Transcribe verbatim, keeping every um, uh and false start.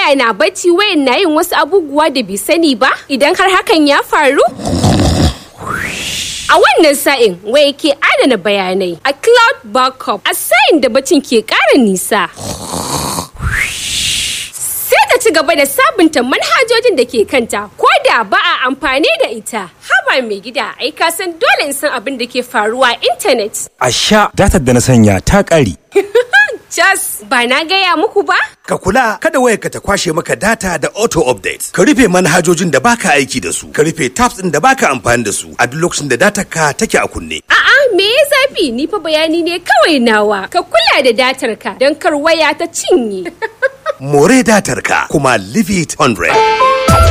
waya na bacci, wayan na yin wasu abubuwa da bai sani ba? Idan har hakan ya faru? A wannan sa'in waya ke adana bayanai a cloud backup a sa'in da bacin ke ƙara nisa. Sai ta ci gaba da sabunta manhajojin da ke kanta ko da ba a amfani da ita. Haba mai gida, ai ka san dole in san abin da ke faruwa a intanet. A sha datar da na sanya ta ƙare. Just ba na gaya muku ba? Ka kula kada wayarka ta kwashe maka data da auto update. Ka rufe manhajojin da baka aiki da su. Ka rufe tabs ɗin da baka amfani da su a duk lokacin da datar ka take a kunne. A'a, me ya zafi? Ni fa bayani ne kawai nawa. Ka kula da datar ka don kar waya ta cinye. More datar ka kuma leave it one hundred.